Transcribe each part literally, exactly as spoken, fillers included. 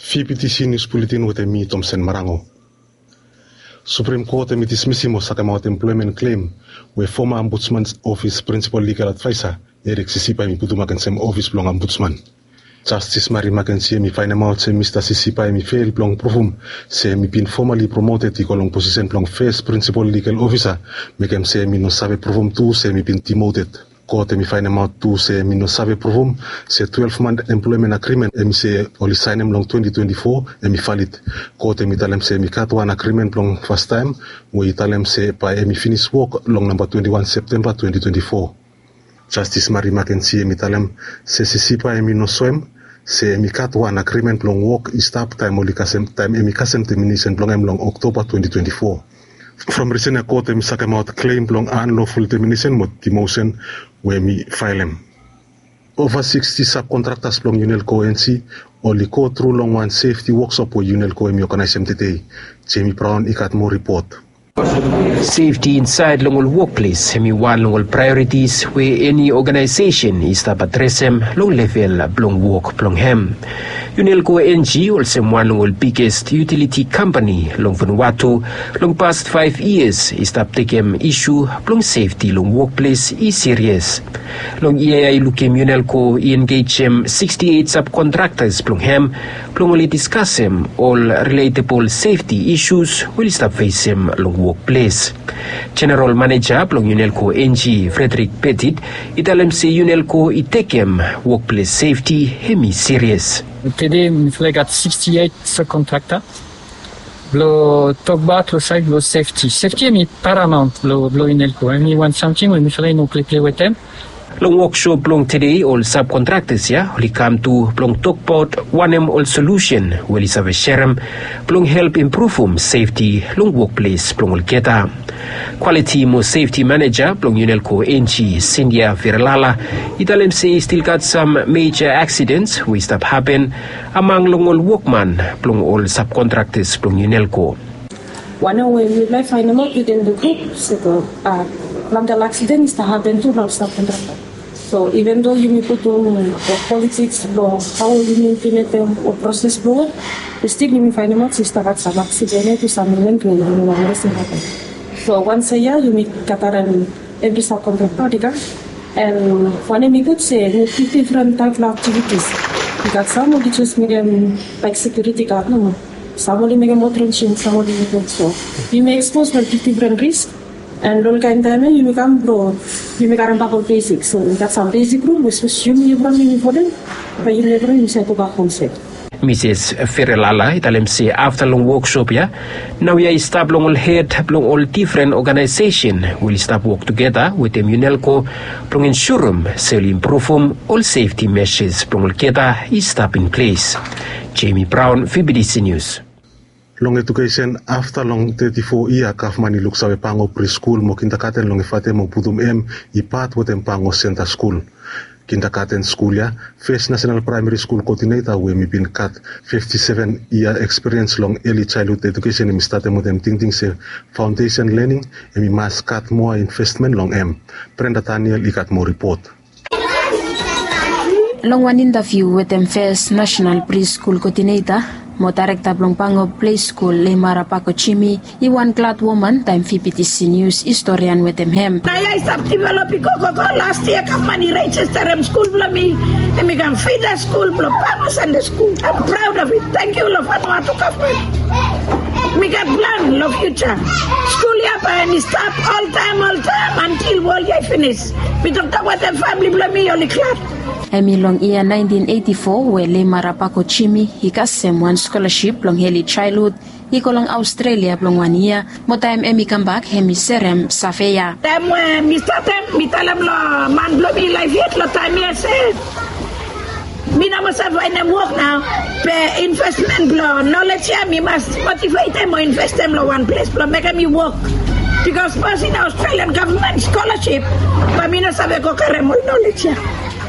Fibitisi nius buletin wetem mi, Tomsen Marango. Suprem Kot hem i dismisim o sakemaot emploemen klem we foma Ombudsman Ofis Prinsipal Ligal Advaesa Erik Sisipa hem i putum agensem ofis blong Ombudsman. Jastis Mari Makensi hem i faenemaot se Mista Sisipa hem i fel blong pruvum se hem i bin fomali promoted i go long posisen blong fes prinsipal ligal ofisa, mekem se hem i no save pruvum tu se hem i bin dimoted. Kot hem i faenemaot tu se hem i no save pruvum se twelef mant emploemen agrimen hem i se oli saenem long twenti twenti fo hem i valid. Kot hem i talem se hem i gat wan agrimen blong fastaem we i talem se bae hem i finis wok long namba twenti wan Septemba twenti twenti fo. Jastis Mari Makensi hem i talem se Sisipa hem i no soem se hem i gat wan agrimen blong wok i stap taem oli kasem taem hem i kasem deminesen blong hem long Oktoba twenti twenti fo. From risen ya kot hem i sakemaot klem blong anloful deminesen mo dimosen we hem i faelem. Ova siksti sabkontraktas blong Unelco N G oli go tru long wan sefti woksop we Unelco hem i oganaesem tede. Jemi Braon i gat moa ripot. Sefti insaed long ol wokples hem i wan long ol praeoritis we eni oganaesesen i stap adresem long level blong wok blong hem. Unelco N G olsem wan long ol biges yutiliti kampani long Vanuatu long past faef yias i stap tekem isu blong sefti long wokples i sirias. Long yia ya i lukim Unelco i engejem siksti eit sabkontraktas blong hem blong oli diskasem ol riletebol sefti isus we oli stap fesem long wokples. Jeneral Maneja blong Unelco N G Frederick Petit i talem se Unelco i tekem wokples sefti hem i sirias. Tede mifala i gat siksti eit sabkontrakta. Blong tokbaot long saed blong sefti. Sefti hem i paramaont blong Unelco. Hem i wan samting we mifala i no pleple wetem. Long woksop blong tede ol sabkontraktas ya oli kam tu blong tokbaot wanem ol solusen we oli save serem blong help impruvum sefti long wokples blong olgeta. Kwaliti mo sefti maneja blong Unelco N G Sindia Viralala i talem se i stil gat sam meja aksidens we i stap hapen among long ol wokman blong ol sabkontraktas blong Unelco. Wanem we mifala i faenemaot within the group se planti ol aksiden i stap hapen tu long sabkontrakta. So even though yumi putum ol politiks blong hao yumi implimentem ol proses blong wok, stil yumi faenemaot se i stap gat sam aksiden ya tu sam iven we yumi no wantaem se i hapen. So wansait ya yumi gatarem evri sabkontrakta oli kam. And wanem i gud se yumi gat difren taep blong aktivitis. I gat sam oli jes mekem laek sekiuriti gad nomo. Sam oli mekem ol trenjing, sam oli mekem so. Yumi ekspos long difren risk. And long olkaen taem ya yumi kam blong yumi karembak ol besik. So i gat sam besik rul we sapos yumi evriwan yumi folem, bae yumi evriwan yumi save gobak hom sef. Misis Viralala i talem se afta long woksop ya, naoia i stap long ol hed blong ol difren oganaesesen we oli stap wok tugeta wetem Unelco blong ensurem se oli impruvum ol sefti mejas blong olgeta i stap in ples. Jemi Braon, Fibitisi Nius. Long ejukesen, afta long teti fo yia gavman i luksave Pango Priskul mo Kindagaten long Efate mo putum hem i pat wetem Pango Senta Skul. Kindagaten skul ya, fes Nasenal Praemeri Skul Koodineta we hem i bin gat fifti seven yia ekspiriens long eli jaelhud ejukesen hem i statem wetem tingting se faondesen lening hem i mas gat moa investmen long hem. Brenda Daniel i gat moa ripot. Long wan intaviu wetem fes Nasenal Priskul Koodineta mo daerekta blong Pango Ples Skul, Leimara Pako Jimi, i wan glad woman taem Fibitisi Nius i storian wetem hem. Naoia i stap develop i go go go. Las yia gavman i rejisterem skul blong mi. Hem i kam fida skul blong Pango Santa Skul. Am praod of it. Tangkiu long Vanuatu gavman. Mi gat plan long fiuja. Skul ya bae hem i stap oltaem oltaem antil wol ya i finis. Mi toktok wetem famili blong mi, oli glad. Hem i long yia naentin eiti fo we Leimara Pako Jimi i kasem wan skolaship blong eli jaelhud i go long Aostrelia blong wan yia, mo taem hem i kambak hem i serem save ya. Taem we mi statem, mi talem long man blong mi laef yet long taem ya se mi no moa save faenem wok nao, be investmen blong nolej ya mi mas motivetem o investem long wan ples blong mekem mi wok. Bikos sapos i no Australian gavman skolaship, bae mi no save go karem ol nolej ya.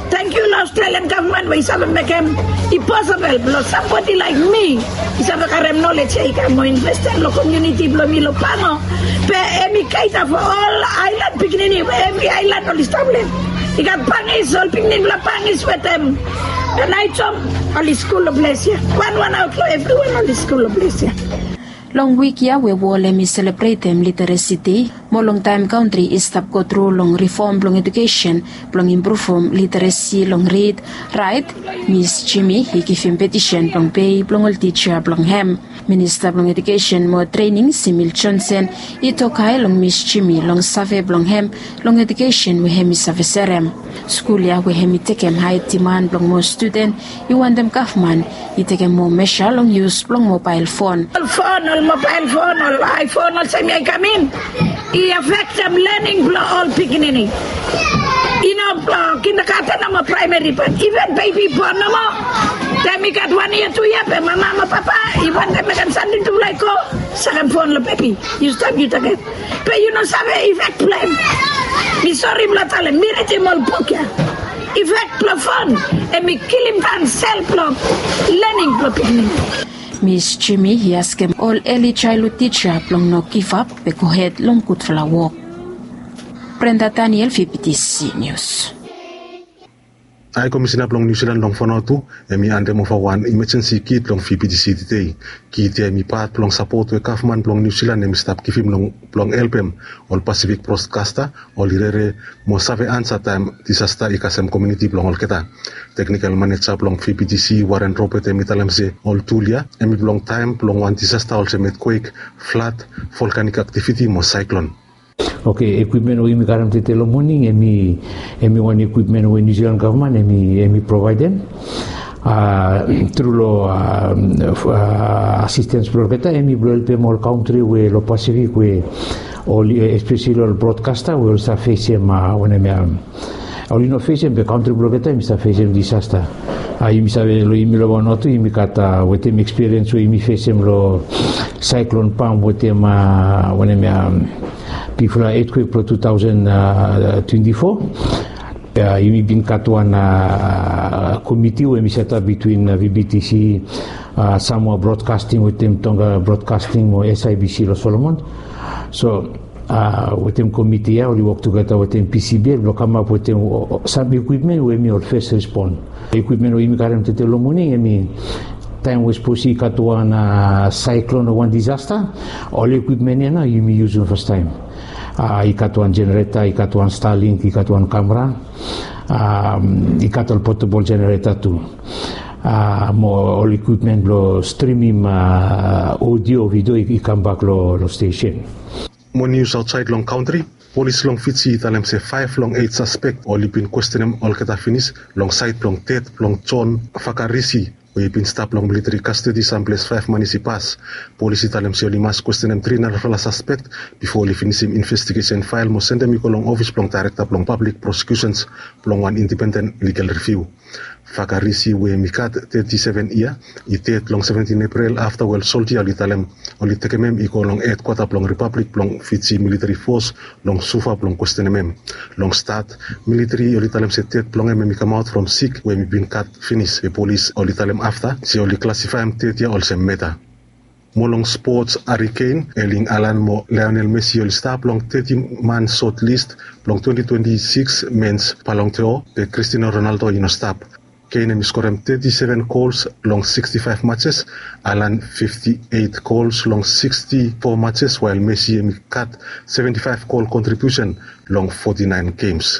Tangkiu long Australian gavman we i save mekem i posibol blong sambodi laek mi i save karem nolej ya i kam mo investem long komuniti blong mi long Pango. Be hem i gaeda fo ol aelan pikinini we evri aelan oli stap long hem. I gat Pangis, ol pikinini blong Pangis wetem Anaitom, oli skul long ples ya. Wanwan aot long evriwan oli skul long ples ya. Long wik ya we wol hem i selebretem Literesi Dei, mo long taem kantri i stap gotru long rifom blong ejukesen blong impruvum literesi long rid, raet, Mis Jimmy i givim petisen blong pei blong ol tija blong hem. Minista blong Ejukesen mo Trening, Simil Johnson, i tok hae long Mis Jimmy long save blong hem long ejukesen we hem i save serem. Skul ya we hem i tekem hae diman blong moa studen i wantem gavman i tekem moa mesa long yus blong mobael fon. Ol fon, ol mobael fon, ol iPhone, olsem ya i kam in, i afektem lening blong ol pikinini. I no blong kindagaten nomo, praemeri, bat iven bebi bon nomo, taem i gat wan yia, tu yia, be mama mo papa i wantem mekem samting tufala i go, sakem fon long bebi. Yu stap, yu taget, be yu no save ifek blong hem. Mi sori blong talem, mi ridim ol buk ya. Ifek blong fon hem i kilim daon sel blong lening blong pikinini. Mis Jimmy i askem ol eli jaelhud tija blong no givap, be gohed long gudfala wok. Brenda Daniel, V B T C News. Hae Komisina blong Niu Silan long Vanuatu hem i handem ova wan imajensi kit long V B T C tede. Kit ya hem i pat blong sapot we gavman blong Niu Silan hem i stap givim long blong helpem ol Pasifik brodkasta oli rere mo save ansa taem disasta i kasem komuniti blong olgeta. Teknikal maneja blong V B T C, Warren Robert, hem i talem se ol tul ya hem i blong taem blong wan disasta olsem etkwek, flad, volkanik aktiviti mo saeklon. Oke, ekwipmen we yumi karem tede long moning hem i, hem i wan ekwipmen we Niu Silan gavman hem i, hem i provaedem. A, tru long, a, f-, a, asistens blong olgeta hem i blong helpem ol kantri we long Pasifik we ol, espeseli ol brodkasta we oli save fesem, a, wanem ya, oli no fesem be kantri blong olgeta hem i save fesem disasta. A, yumi save long yumi long Vanuatu yumi gat, a, wetem ekspiriens we yumi fesem long saeklon Pam wetem, a, wanem ya, bigfala etkwek blong tu taosen twenti fo. A, yumi bin gat wan, a, komiti we hem i setap bitwin, a, V B T C, a, Samoa Broadcasting wetem Tonga Broadcasting mo S I B C long Solomon. So, a, wetem komiti ya oli wok tugeta wetem P C B L blong kamap wetem, o, o, sam ekwipmen we hem i ol fes respon. Ekwipmen we yumi karem tede long moning hem i taem we sapos i gat wan, a, saeklon o wan disasta, ol ekwipmen ya nao yumi yusum fastaem. A, i gat wan jenereta, i gat wan Starlink, i gat wan kamera, a, i gat ol potebol jenereta tu. A, mo ol ekwipmen blong strimim, a, odio, vidio i, i kambak long, long stesen. Mo nius aotsaed long kantri. Polis long Fiji i talem se faef long eit saspek oli bin kwestenem olgeta finis long saed blong ded blong John Fakarisi we i bin stap long militeri kastedi samples faef manis i pas. Polis i talem se oli mas kwestenem tri narafala saspek bifo oli finisim investigesen fael mo sendem i go long ofis blong daerekta blong pablik prosekiusens blong wan indipenden ligal riviu. Fakarisi we hem i gat teti seven yia i ded long seventin Epril afta we ol soldia oli talem oli tekem hem i go long hedkwata blong Ripablik blong Fiji militeri fos long Suva blong kwestenem hem. Long stat, militeri oli talem se ded blong hem hem i kamaot from sik we hem i bin gat finis, be polis oli talem afta se oli klasifaem ded ya olsem meta. Mo long spots, Harry Kane, Erling Haaland mo Lionel Messi oli stap long teti man sot lis blong twenti twenti sikis mens Ballon d'Or, be Cristiano Ronaldo i no stap. Kane hem i skorem teti seven gols long siksti faef matches, Haaland fifti eit gols long siksti fo matches, wael Messi hem i gat seventi faef gol kontribiusen long foti naen gems.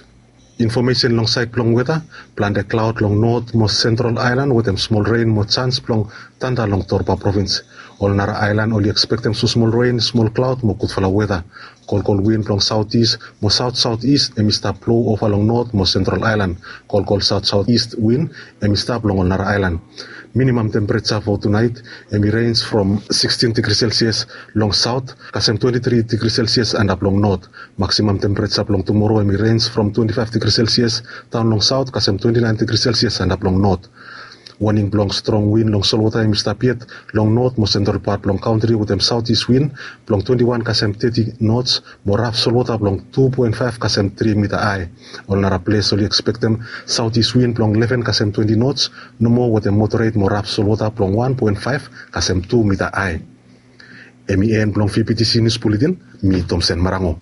Infomesen long saed blong weta. Plante klaod long not mo sentral aelan wetem smol ren mo janis blong tanda long Torba provins. Ol nara aelan oli ekspektem smosmol ren, smol klaod mo gudfala weta. Kolkol win blong saotis mo saotsaotis hem i stap blou ova long not mo sentral aelan. Kolkol saotsaotis win hem i stap long ol nara aelan. Minimam tempereja fo tunaet hem i renj from sikstin digri selsias long saot kasem twenti tri digri selsias antap long not. Maksimam tempereja blong tumoro hem i renj from twenti faef digri selsias daon long saot kasem twenti naen digri selsias antap long not. Waning blong strong win long solwota hem i stap yet long not mo sentral pat blong kantri wetem saotis win blong twenti wan kasem teti nots mo raf solwota blong tu poen faef kasem tri mita ae. Ol nara ples oli ekspektem saotis win blong leven kasem twenti nots nomo wetem moderet mo raf solwota blong wan poen faef kasem tu mita ae. Hem i en blong V B T C Nius Buletin, mi Tomsen Marango.